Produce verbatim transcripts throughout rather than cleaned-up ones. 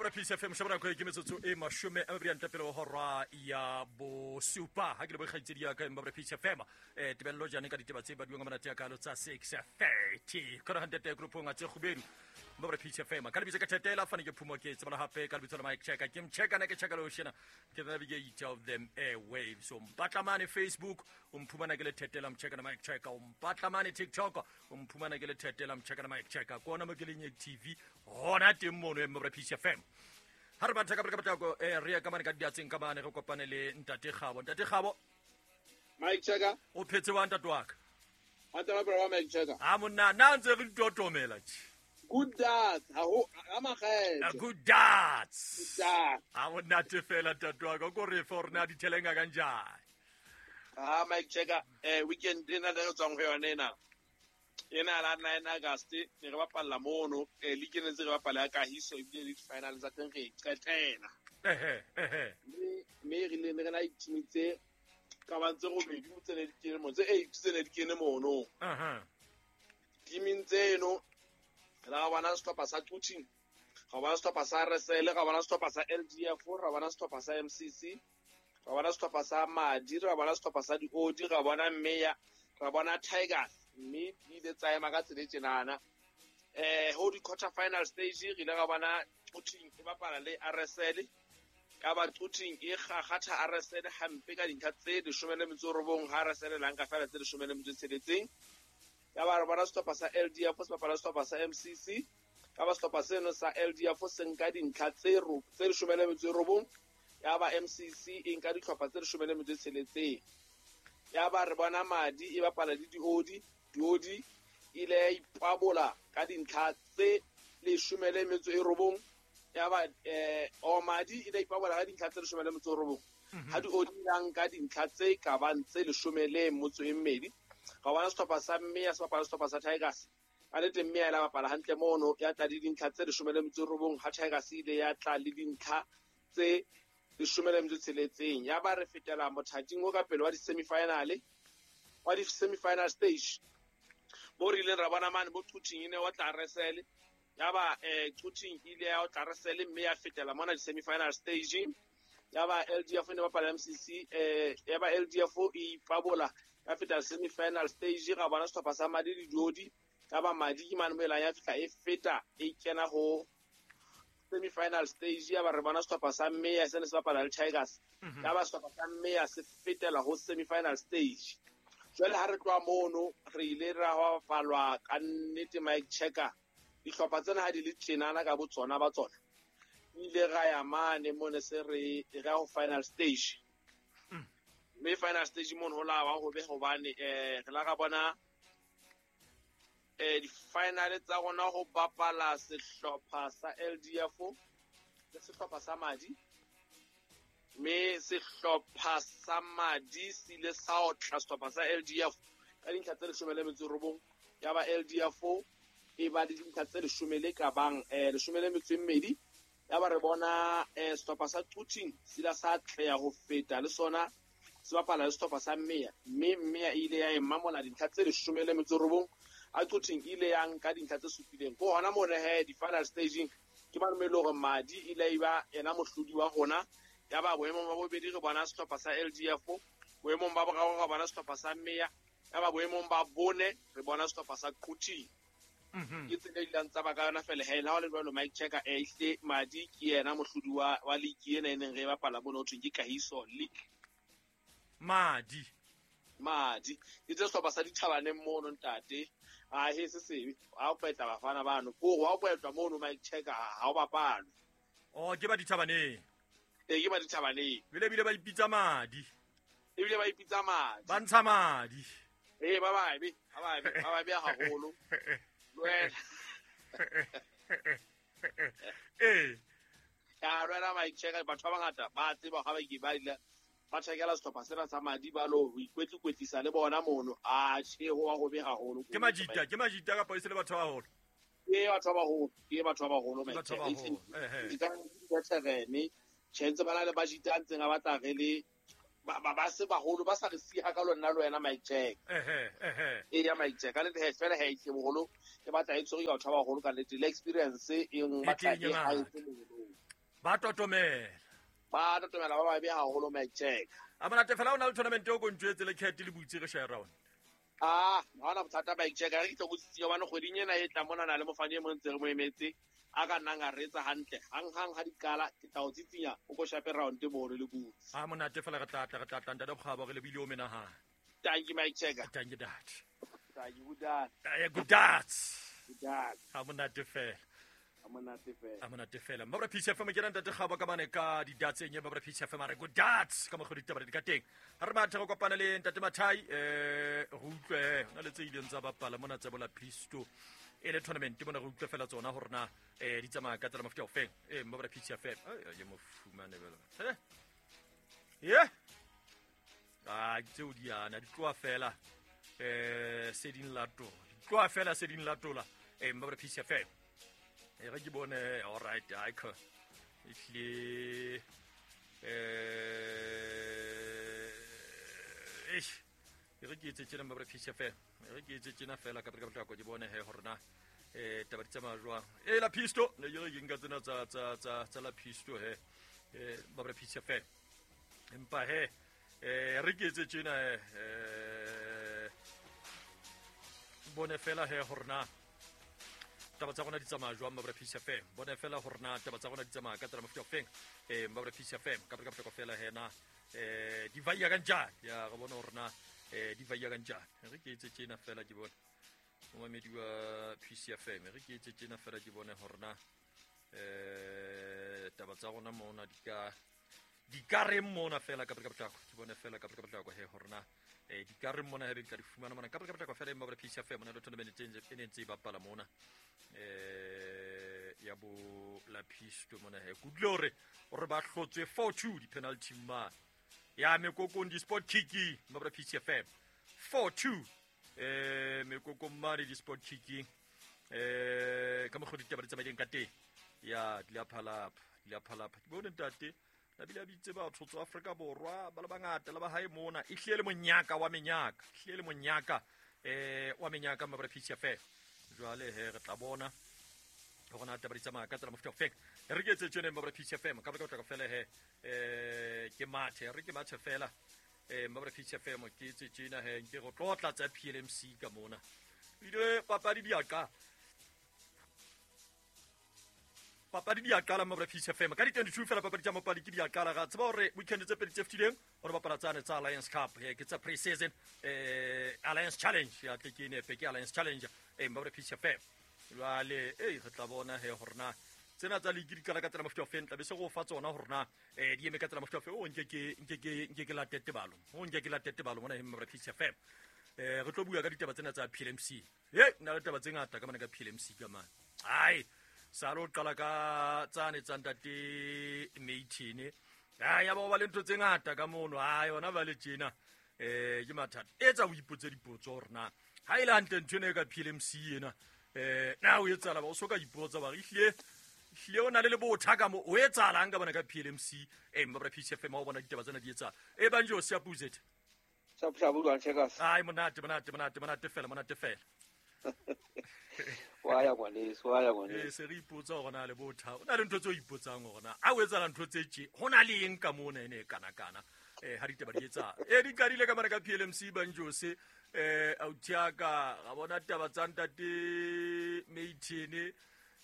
Mbabra Peace F M shabana ko ke metsotso e mashome a mabedi a ntle pele ho hora ya bosupa ha ke le bokgaitsedi ya ka Mbabra Peace F M eh tebello jane ka ditaba tse baduwang ka monate ya kalo tsa six thirty kora hantete groupong tse kgubedu Mbabra Peace F M ka lebitso ka thetela fane ke phumo ke tsebala hape ka lebitso la Mike Checker ke mcheka na ke cheka lo shena ke navigate of them airwaves so mpatla mane Facebook o mphumana ke le thetela mcheka na Mike Checker o mpatla mane TikTok o mphumana ke le thetela mcheka na Mike Checker kona mo ke leng T V hona teng mono Mbabra Peace F M ha re batla ka ka batla eh re ya ka mane ka diatseng ka mane re kopane le ntate Kgabo. Ntate Kgabo Mike Checker o phetse wa ntate wa ka Atala bra Mike Checker ha monna na ntse re ditotomela tje good dats ha ho ha makgetho good dats good dats ha monna te fela ntate wa ka ko re fa rena ditelenga kanjani ha Mike Checker eh weekend ena le tswang ho yona ena ena la nine August ne re bapalla mono eh league ne tse re bapala ya Kahiso ebile le final tsa teng re qetela ehe ehe mme mme re le re na team tse ka ba ntse robedi tse ne di kene mo tse eight tse ne di kene mono aha team tseno ra bona sehlopha sa Quthing ra bona sehlopha sa R S L ra bona sehlopha sa L D F ra bona sehlopha sa M C C ra bona sehlopha sa Madi ra bona sehlopha sa Diodi ra bona Meya ra bona Tigers mme di ile tsa ema ka tsela e tjenana eh ho di quarter final stage re ile ra bona Quthing e bapala le R S L ka ba Quthing e kgakgatha R S L hampe ka dintlha tse leshome le metso robong ha R S L la nka fela tse leshome le metso e tsheletseng ya ba re bona sehlopha sa L D F se bapala sehlopha sa M C C ka ba sehlopha seno sa L D F se nka dintlha tse tse leshome le metso e robong ya ba M C C e nka dihlopha tse leshome le metso e tsheletseng ya ba re bona Madi e bapala le Diodi Diodi ile ya ipabola ka dintlha tse leshome le metso e robong ya ba eh o Madi ile ipabola ka dintlha tse leshome le metso e robong ha Diodi la nka dintlha tse ka bang tse leshome le motso e mmedi ga bona sehlopha sa Mme ya se bapala sehlopha sa Tigers ka nnete Mme ya la bapala hantle mono ya tla le dintlha tse leshome le metso e robong ha Tigers ile ya tla le dintlha tse leshome le metso e tsheletseng ya ba re fetela mothating o ka pele wa di-semi-final wa di-semi-final stage mo re ileng ra bona mane bo Quthing e ne wa tla R S L ya ba eh Quthing ile ya o tla R S L mme ya fetela mona di-semi-final stage ya ba L D F ne bapala M C C eh ya ba L D F e ipabola ya feta semi-final stage ga bona sehlopha sa Madi le Diodi ya ba Madi ke mane mo elang ya fihla e feta e kena ho semi-final stage ya ba re bona sehlopha sa Mme ya se ne se bapala le Tigers ya ba sehlopha sa Mme ya se fetela ho semi-final stage jwale ha re tloha mono re ile ra bapalwa ka nnete Mike Checker dihlopha tsena ha di le tjenana ka botsona ba tsona ile ra ya mane mone se re re ho final stage mme final stage mono ho la ba ho be hobane eh re la ra bona eh di-final tsa rona ho bapala sehlopha sa L D F le sehlopha sa Madi mme sehlopha sa Madi se ile sa otla sehlopha sa L D F ka dintlha tse leshome le metso e robong ya ba L D F e ba le dintlha tse leshome le ka bang eh leshome le metso e mmedi ya ba re bona eh sehlopha sa Quthing se ile sa atleha ho feta le sona se bapala le sehlopha sa Mmeya mme Mmeya e ile ya e mamola dintlha tse leshome le metso e robong a Quthing ile ya nka dintlha tse supileng ko hona mona he di-final staging ke ba le hore Madi ile ya ba yena mohlodi wa rona ya ba boemong ba bobedi re bona sehlopha sa L D F boemong ba boraro re bona sehlopha sa Mmeya ya ba boemong ba bone re bona sehlopha sa Quthing ke tsela e ileng tsa ba ka yona fela he la ho le jwalo Mike Checker eh ehle Madi ke yena mohlodi wa wa league ena e neng re bapala mono ho thweng ke Kahiso League Madi Madi ke tse sehlopha sa dithabaneng mono ntate a he se sebe ha o kwetla bafana bano ko ha o kwetla mono Mike Checker ha o bapalwe oh ke ba dithabaneng e ke ba dithabaneng bile bile ba ipitsa Madi ebile ba ipitsa Madi ba ntsha madi eh ba babe ba babe ba babe haholo lwena eh ya lwena Mike Checker batho ba bangata ba tseba ha ba ke ba ile ba tjhakela sehlopha sena sa Madi ba lo ho ikwetlikwetlisa le bona mono a tjhe ho wa ho be haholo ke majita ke majita kapa e se le batho ba baholo ke batho ba baholo ke batho ba baholo Mike batho ba baholo ehe ke veteran tjhe ntse ba na le bajita a ntseng a batla re le ba ba se baholo ba sa re siha ka lona le wena Mike Check ehe ehe e ya Mike Check ka le fela he ke boholo ke batla e tshwere batho ba baholo ka nnete le experience e batla e ha e. Ba totomela. Ba totomela ba babe haholo Mike Check. A monate fela o na le tournament o kontjwetse le cat le butse re share round. Ah, ha ona bothata Mike Check, re ke tlo go tsitsinya bana kgweding ena e tla mona na le mofani e mong ntse re mo emetse. A ka nnang a retsa hantle hang hang ha dikala ke tla o tsitsinya o ko shape round mo re le butse. A monate fela re tla tla re tla tla ntate Bokgabo re lebile o menahana. Thank you Mike Check. Thank you dad. Thank you good dad. Eh good dad. Good dad. Ha monate fela. Ha monate fela. Ha monate fela. Mabra P C F M ke ntate Kgabo ka mane ka di dats enye Mabra P C F M a re good dads ka mogodi ditaba di ka teng. Ha re mathe go kopana le ntate Mathai eh go utlwe na le tse ileng tsa bapala mona tsa bola Pisto. E le tournament mona go utlwe fela tsona hore na eh di tsamaya ka tsela mofuta o feng. Eh Mabra P C F M. Ai ye mo fumane bela. Eh. Ye. Ah tseo di ana di tloa fela eh se ding latola. Di tloa fela se ding latola. Eh Mabra P C F M. E re ke bone all right I can ehlile eh eish e re ke etse tjena Mabra P C F M. E re ke etse tjena fela ka ka potlako ke bone he hore na eh taba di tsamaya jwang. E la Pisto ne ke re ke nka tsena tsa tsa tsa tsa la Pisto he eh Mabra P C F M. Empa he eh re ke etse tjena eh bone fela he hore na taba tsa rona di tsamaya jwang Mabra P C F M. Bone fela hore na taba tsa rona di tsamaya ka tsela mofuta o feng. Eh Mabra P C F M ka ka potlako fela he na eh di vaya ka njani. Ya re bone hore na eh di vaya ka njani. Re ke etse tjena fela ke bone momamedi wa P C F M. Re ke etse tjena fela ke bone hore na eh taba tsa rona mona di ka di ka re mona fela ka ka potlako. Ke bone fela ka ka potlako he hore na eh di ka re mona hebe ka di fumana mona ka ka potlako fela Mabra P C F M mona le tournament e ne ntse e bapala mona eh ya bo la Pisto mona he kutlwe hore hore ba hlotswe four two di penalty ma ya mekokong di sport kicking Mabra P C F M four two eh mekokong mane di sport kicking eh ka mokgwa ditaba di tsamaileng ka teng ya di la phalapha di la phalapha ke bone ntate nabile a bitse batho tswa Afrika Borwa ba le bangata le ba hae mona e hlile le monyaka wa menyaka hlile le monyaka eh wa menyaka Mabra P C F M. Jwale he re tla bona hore na taba di tsamaya ka tsela mofuta o feng. Re ke etse tjena Mabra P C F M ka ka fela he eh ke mathe re ke mathe fela eh Mabra P C F M ke etse tjena he nke go tlotla tsa P L M C ka mona. Ile papadi di a qala. Papadi di a qala Mabra P C F M ka di twenty-two fela papadi tsa mopadi ke di a qala ga tseba hore weekend tse pedi tse fetileng hore bapala tsane tsa Alliance Cup ke tsa pre-season eh Alliance Challenge ya tle ke nepe ke Alliance Challenge eh Mabra P C F M. Jwale eh re tla bona he hore na tsena tsa league di qala ka tsela mofuta o feng tla be se go fa tsona hore na eh di eme ka tsela mofuta o feng. O nke ke nke ke nke ke late tebalo o nke ke late tebalo mona he Mabra P C F M. Eh re tlo bua ka ditaba tsena tsa P L M C. He nna le taba tse ngata ka mona ka P L M C ka mane. Ai sa lo qala ka tsane tsa ntate Meithene. Ah ya ba ba le ntho tse ngata ka mono. Ah yona ba le tjena eh ke mathata. Etsa o ipotse dipotso hore na ha ile hantle ntho ena ka P L M C ena eh na o etsala ba o soka ipotsa ba re hlile hlile o na le lebotha ka mo o etsalang ka bona ka P L M C. Eh Mabra P C F M ha o bona ditaba tsena di etsa e banjo se apuzete sa pshabu jwang Checkers. Ai monate monate monate monate fela monate fela. Wa ya ngwaneso wa ya ngwaneso. Eh se re ipotsa hore na le botha o na le ntho tse o ipotsang hore na a o etsala ntho tse tje ho na le eng ka mona ene kana kana eh ha ditaba di etsa e di qadile ka mara ka P L M C banjose eh authiaka ga bona taba tsa ntate Meithene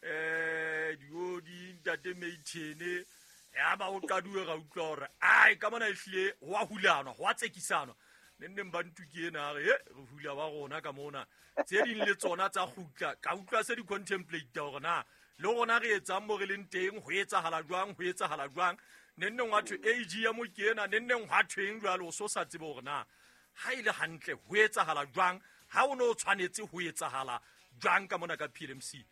eh diodi ntate Meithene ya ba o qaduwe ga utlwa hore ai ka mona ehlile ho a hulanwa ho a tsekisana ne nne ba ntuke ena re re hula ba rona ka mona tse ding le tsona tsa kgutla ka utlwa se di contemplate hore na le rona re etsang mo re leng teng ho etsahala jwang ho etsahala jwang ne nne ngwa thwe A G ya mo ke ena ne nne ngwa thweng jwalo o so sa tsebe hore na ha ile hantle ho etsahala jwang ha o no tshwanetse ho etsahala jwang ka mona ka P L M C.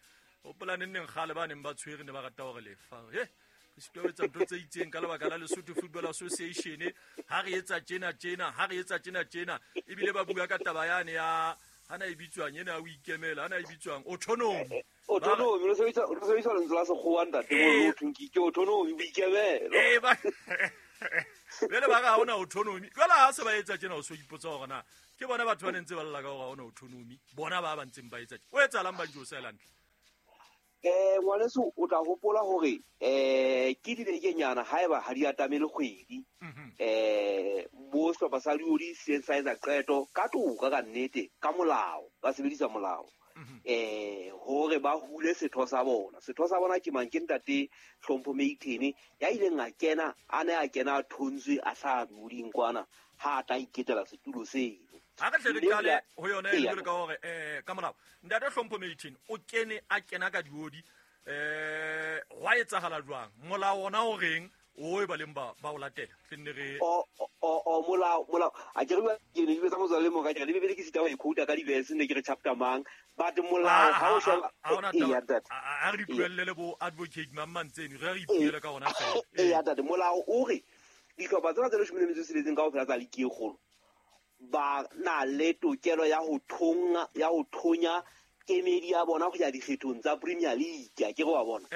Hopola ne nne kgale ba neng ba tshwere ne ba rata hore lefa he re sitwa ho etsa ntho tse itseng ka lebaka la Lesotho Football Association ha re etsa tjena tjena ha re etsa tjena tjena ebile ba bua ka taba yane ya hana e bitswang ena o ikemela hana e bitswang autonomy autonomy re sebedisa re sebedisa lentswe la sekgowa ntate mo thong ke autonomy boikemelo eh ba bele ba ga hona autonomy jwale ha se ba etsa tjena o so ipotsa hore na ke bona batho ba nentse ba lla ka hore ha hona autonomy bona ba ba ntseng ba etsa o etsalang ba Jose Land. Eh ngwaneso o tla hopola hore eh ke dibekenyana haeba ha di atamele kgwedi eh bo sehlopha sa Leodi se sa etsa qeto ka toka ka nnete ka molao ba sebedisa molao eh hore ba hule setho sa bona. Setho sa bona ke mang? Ke ntate Hlompho Meithene ya ileng a kena a ne a kena a thontswe a hlaha moding kwana ha a tla iketela setulo seo. Ha re tle re qale ho yona e le ka hore eh ka molao ntate Hlompho Meithene o kene a kena ka diodi eh hwa etsahala jwang? Molao ona o reng o e ba leng ba ba o latela tle nne re o o o molao molao a ke re bua ke ne ke betsa motswalle mo ka ke re bebele ke sita ho e quote ka di-verse ne ke re chapter mang but molao ha o sheba a re di tlohelle le bo advocate mang mantseni re re ipuele ka ona fela. E ya tate molao o re dihlopha tsena tse leshome le metso e tsheletseng kaofela tsa ligi e kgolo ba na le tokelo ya ho thonga ya ho thonya kemedi ya bona go ya dikgethong tsa Premier League a ke re wa bona.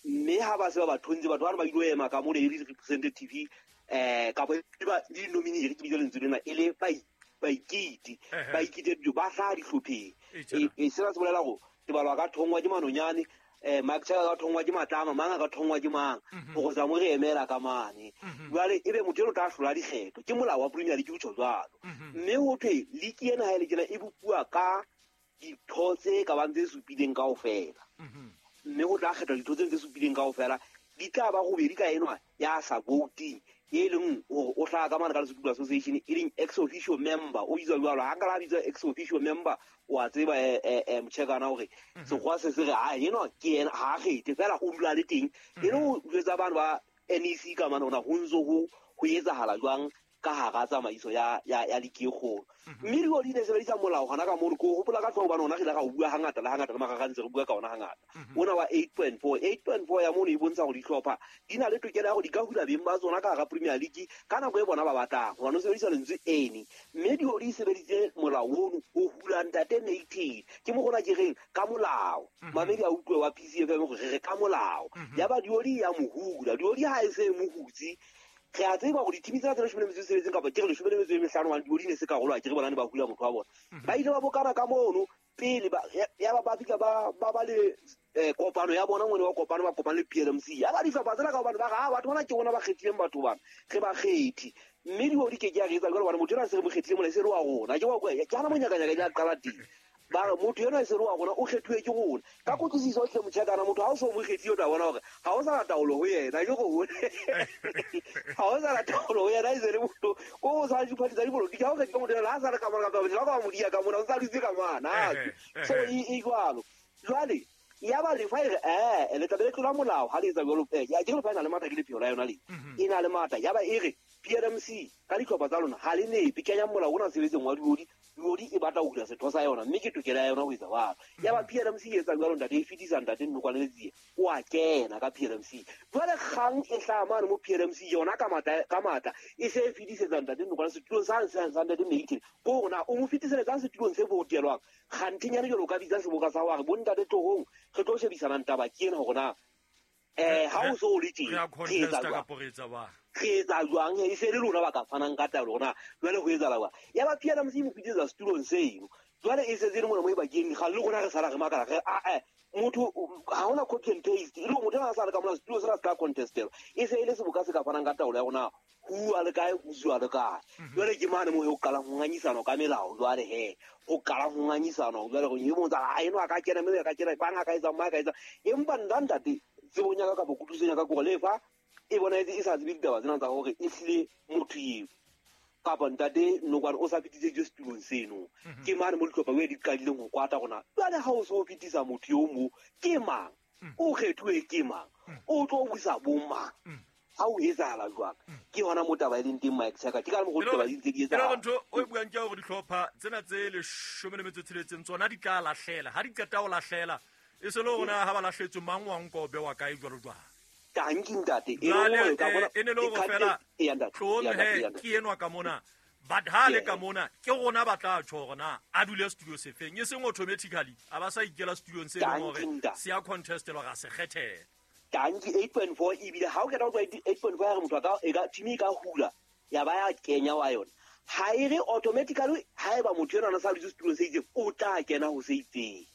Mme ha ba se ba ba thontse batho ba ba ile ema ka mo le representative eh kapa ba di nominee re ke bitsa lentswe lena e le ba baikiti baikiti ba hlaha dihlopheng. E sena se bolela hore Tebalo a ka thongwa ke Manonyane eh Mark Chaka ka thongwa ke Matlama mang a ka thongwa ke mang go tsa mo re emela ka mane. Jwale ebe motho eno tla hlola dikgetho ke molao wa Premier League o tjho jwalo. Mme ho thwe league ena ha e le tjena e bopuwa ka ditho tse ka bang tse supileng kaofela. Mme ho tla kgethwa ditho tse tse supileng kaofela di tla ba robedi ka enwa ya sa voting e leng hore o hlaha ka mane ka Lesotho Association e leng ex officio member o bitswa jwalo. Ha nka la bitswa ex officio member o a tseba eh motjhekana hore sekgowa se se re ha enwa ke yena ha kgethe fela o dula le teng e le ho jwetsa bana ba N E C ka mane hona ho ntso ho ho etsahala jwang ka hara tsamaiso ya ya ya ligi e kgolo. Mme Diodi ne sebedisa molao hona ka mono ko hopola ka hlooho hobane ona re ile ra o bua hangata le hangata le marara ntse re bua ka ona hangata. Ona wa eight point four eight point four ya mono e bontsha hore dihlopha di na le tokelo ya hore di ka hula beng ba tsona ka hara Premier League ka nako e bona ba batlang hobane o sebedisa lentswe ene. Mme Diodi e sebeditse molao ono o hula ntate Meithene ke mo rona ke reng ka molao mamedi a utlwe wa P C F M hore re re ka molao ya ba Diodi ya mo hula. Diodi ha e se mo hutse re a tseba hore dithimi tsena tse leshome le metso e tsheletseng kapa ke re leshome le metso e mehlano hobane Diodi ne se karolo a ke re bona ne ba hula motho wa bona. Ba ile ba bokana ka mono pele ba ya ba ba fihla ba ba ba le kopano ya bona ngwane wa kopano ba kopana le P L M C ya ba dihlopha tsena ka hobane ba re ha batho bana ke bona ba kgethileng batho bana re ba kgethi. Mme Diodi ke ke ya re etsa jwalo hobane motho enwa se re mo kgethile mona e se re wa rona ke wa ke hana monyakanyaka ya qala teng. Ba re motho enwa e se re wa rona o kgethuwe ke rona ka kutlwisiso hle motjhekana motho ha o so mo kgethile o tla bona hore ha o sa na taolo ho yena ke go ha o sa na taolo ho yena e se le motho ko o sa diphathi tsa dipolotiki ha o kgethile motho enwa ha sa le ka mona ka ba ka mo dia ka mona o sa dutse ka mona so e jwalo. Jwale ya ba lefa e re eh le tla be le tlola molao ha le etsa jwalo ya ke re fa e na le matla ke lepheo la yona le e na le matla ya ba e re P L M C ka dihlopha tsa lona ha le nepe kenyang molao ona sebetseng wa Diodi. Diodi e batla ho hula setho sa yona mme ke tokelo ya yona ho etsa jwalo. Ya ba P L M C e etsa jwalo ntate e fetisa ntate Nnokwane Letsie o a kena ka P L M C. Jwale kgang e hlaha mane mo P L M C yona ka matla ka matla e se e fetisetsa ntate Nnokwane setulong sa sa ntate Meithene ko rona o mo fetiseletsang setulong se votelwang kganthenyane jwalo ka bitsa seboka sa hore bo ntate tlohong re tlo shebisanang taba ke ena hore na eh ha o so le teng re etsa jwang re etsa jwang e se le lona ba ka fanang ka taolo rona jwale ho etsahala jwang. Ya ba P L M C mo fetisetsa setulong seno jwale e setse le mona mo e bakeng ga le rona re sala re makala re a motho ha hona copy and paste e le motho a sa le ka mona setulo sena se ka contestelwa e se e le seboka se ka fanang ka taolo ya rona ho a le kae ho zwa le kae. Jwale ke mane mo ho qalang ho ngangisana ka melao jwale he ho qalang ho ngangisana jwale go e motsa ha eno a ka kena mme ka kena bang a ka etsa mang ka etsa empa nna ntate tsebong ya ka kapa kutlwisisong ya ka kore lefa e bonahetse e sa tsebe ditaba tsena tsa hore e hlile motho eo kapa ntate Nnokwane o sa fetiseditswe setulong seno. Ke mane mo dihlopha e di qadileng ho kwata rona jwale ha o so o fetisa motho eo mo ke mang o kgethuwe ke mang o tlo busa bo mang ha o etsahala jwang ke hona mo taba e leng teng Mike Chaka ke ka mo go taba di ntse di etsahala. Ntho o e buang ke hore dihlopha tsena tse leshome le metso e tsheletseng tsona di tla lahlela ha di qeta ho lahlela e se le rona ha ba lahletswe mang wa nko bewa kae jwalo jwang. Tanki ntate e le ka bona e ne le hore fela tlohong he ke enwa ka mona but ha le ka mona ke rona ba tla tjho hore na a dule studio sefeng e seng automatically a ba sa ikela studiong se leng hore se ya contestelwa ga se kgethela. Tanki eight point four ebile ha o keta ho eight point four ya re motho a ka e ka team e ka hula ya ba ya kenya wa yona ha e re automatically haeba motho enwa a sa dutse setulong se itseng o tla kena ho se itseng.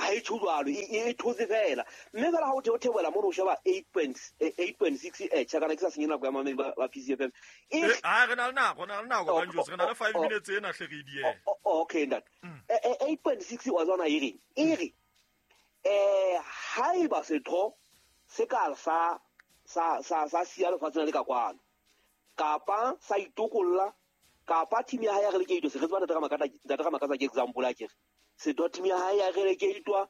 Ha e tjho jwalo, e thotse fela. Mme fela ha o theohela mono o sheba eight point six eh tjha kana ke sa senye nako ya mamedi ba P C F M. E ha re na le nako, re na le nako Banjos, re na le five minutes ena hle re di. Okay ntate. eight point six wa tsona e reng? E re eh haeba setho se ka sa sa sa sa siya lefatsheng le ka kwano kapa sa itokolla kapa team ya hae ya relegatewa, se re tseba ntate Ramakatsa, ntate Ramakatsa ke example a kere setho team ya hae ya relegatewa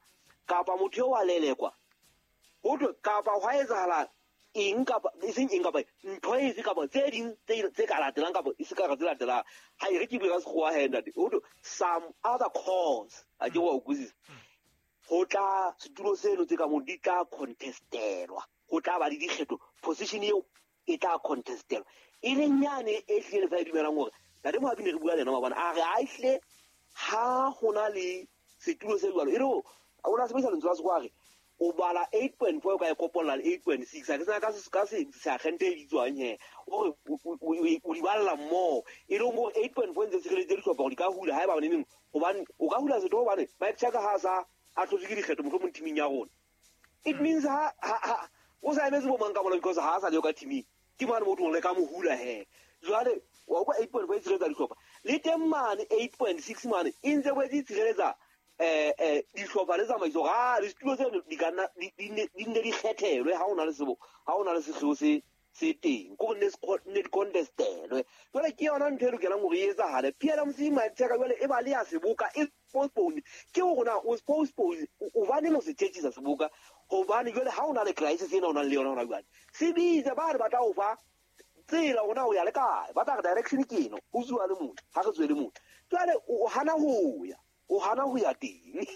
kapa motho eo a lelekwa ho thwe kapa hwa etsahala eng kapa e seng eng kapa ntho efe kapa tse ding tse ka latelang kapa e se ka tse latelang. Ha e re ke bue ka sekgowa he ntate, ho thwe some other cause a ke wa utlwisisa. Ho tla setulo seno tse ka moo di tla contestelwa, ho tla ba le dikgetho, position eo e tla contestelwa. E leng yane e hlile fa e dumelang hore ntate Mohapi ne re bua le yena mabana a re a ehle ha hona le setulo se jwalo e re o na sebedisa lentswe la sekgowa a re o bala eight point four o ka e kopolla le eight point six a ke tsena ka ka se seagente e bitswang he o re o di balla mmoho e leng hore eight point four ntse tshireleditse dihlopha hore di ka hula haeba neneng hobane o ka hula setho hobane Mike Chaka ha sa a tlhotswe ke dikgetho mohlomong teaming ya rona. It means ha ha o sa emetse bo mang ka mola because ha a sa le ka teaming ke mane motho o le ka mo hula he. Jwale wa utlwa eight point four e tshireletsa dihlopha le teng mane eight point six mane e ntse boetse e tshireletsa eh eh dihlopha le tsamaiso ga le setulo tseno di ka nna di nne di kgethelwe ha o na le sebo ha o na le sehlooho se se teng ko ne ne di contestelwe. Jwale ke yona ntho e lokelang hore e etsahale. P L M C Mike Chaka jwale e ba le ya seboka e postpone ke hore na o postpone hobane o se tjhetjisa seboka hobane jwale ha o na le crisis ena o nang le yona hona jwale se bitse ba re batla ho fa tsela hona o ya le kae ba tla re direction ke eno ho tsuwa le motho ha re tswe le motho jwale o hana ho ya o hana ho ya teng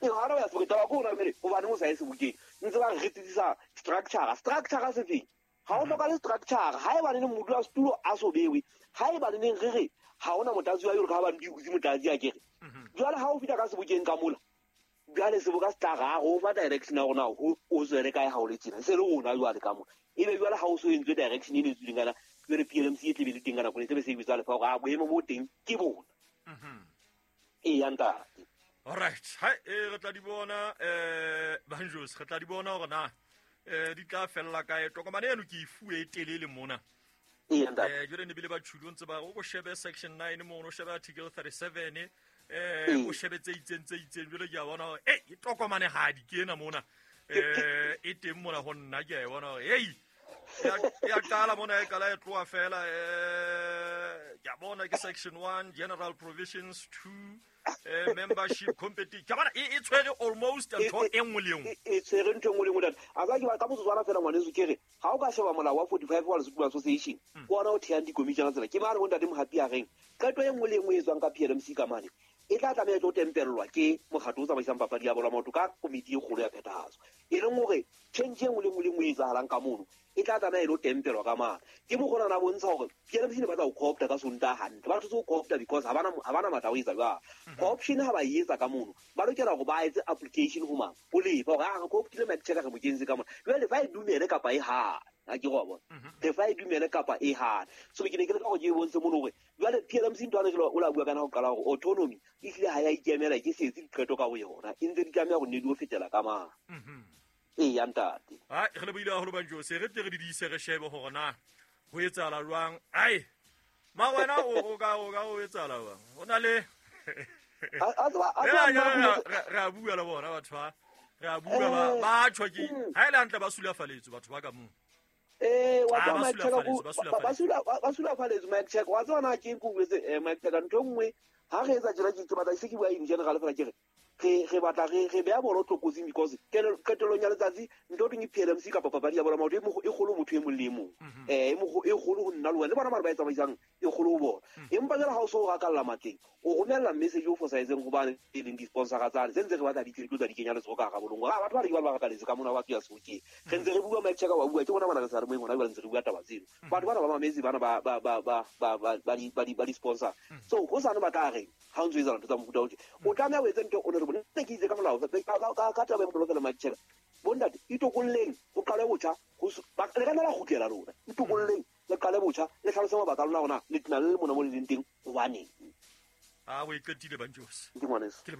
e hana ho ya sebokeng taba ke hona jwale hobane o sa ye sebokeng ntse ba re retetsisa structure structure se feng ha o hloka le structure ha eba neng modula setulo a so bewe ha eba neng re re ha hona motlatsi wa yore ka ba ndi hutse motlatsi a kere jwale ha o fihla ka sebokeng ka mola jwale seboka se tla ra go fa direction ya rona ho o tswele kae ha o le tjena se le rona jwale ka mola ebe jwale ha o so entswe direction e ne tswileng kana jwale P L M C e tlebe le teng ka nako e tlebe se e bitsa lefa hore a boemo bo teng ke bona. E ya ntate. All right, hai e re tla di bona eh Banjos re tla di bona hore na eh di tla fella kae tokomane eno ke e fuwe e telele mona. E ya ntate. Eh jwale ne bile ba tjhulo ntse ba o shebe section nine mono o shebe article thirty-seven eh o shebe tse itseng tse itseng jwale ke a bona hore eh e tokomane ha di ke ena mona eh e teng mona ho nna ke a e bona hore hey ya qala mona e qala e tloha fela eh ke a bona ke section one general provisions two eh membership competition ke bona e tshwere almost ntho e nngwe le nngwe e tshwere ntho e nngwe le nngwe ntate a ka ke ba ka motsotswana fela ngwaneso ke re ha o ka sheba molao wa forty-five wa Lesotho Association ke ona o thehang dikomiti tsena ke mane bo ntate Mohapi a reng qeto e nngwe le nngwe e tswang ka P L M C ka mane e tla tlameha e tlo tempellwa ke mokgatlo o tsamaisang papadi ya bolo ya maoto ka komiti e kgolo ya phethahatso e leng hore change e nngwe le nngwe le nngwe e etsahalang ka mono e tla tlameha e lo tempelwa ka mane ke mokgona na bontsha hore P L M C ne batla ho co-opta ka Sontaha hantle ba thotse ho co-opta because ha bana ha bana matla ho etsa jwalo co-option ha ba e etsa ka mono ba lokela hore ba etse application ho mang ho lefa hore a re co-optile Mike Chaka re mo kentse ka mona jwale fa e dumele kapa e hane a ke go bona re fa e dumele kapa e hane so ke ne ke le ka go ke bontshe mono hore jwale P L M C ntwana ke o la bua kana ho qala hore autonomy e hlile ha ya ikemela ke se etse diqeto ka bo yona e ntse di tlameha ho nne di o fetela ka mang e ya ntate. Ai re le buile haholo Banjos re tle re di diise re shebe hore na ho etsahala jwang ai ma wena o ka o ka o etsahala jwang ho na le re a bua le bona batho ba re a bua ba ba tjho ke ha ile hantle ba sulafaletswe batho ba ka moo eh wa tswa Mike Chaka ba sula ba sulafaletswe Mike Chaka wa tswa na ke go betse Mike Chaka ntho nngwe ha re etsa tjena ke batla se ke bua in general fela ke re re re batla re re beha bolo tlokotsing because qetellong ya letsatsi ntho teng e P L M C kapa papadi ya bolo maoto e kgolo motho e mong le e mong eh e kgolo ho nna le wena le bona ba re ba e tsamaisang e kgolo ho bona empa jwale ha o so o rakalla matleng o romella message o fosahetseng hobane e leng di-sponsora tsane se ntse re batla ditjhelete tsa di kenya letsoho ka hara bolong hore batho ba re ke ba ba rakaletse ka mona ba tswa sebokeng re ntse re bua Mike Chaka wa bua ke bona bana re sa re moeng hona jwale ntse re bua taba tseno batho bana ba mametse bana ba ba ba ba ba ba ba ba di-sponsor so ho sane ba tla reng ha o ntso etsa ntho tsa mofuta o tje o tlameha o etse ntho o ne re bone ke itse ka molao ka ka taba e bonolo fela Mike Chaka bontate itokolleng ho qale botjha le ka nna la kgutlela lona itokolleng le qale botjha le hlalose mabaka a lona hore na le tena le le mona mo le leng teng hobaneng. A o e qetile, Banjos. Ke ngwaneso. Ke.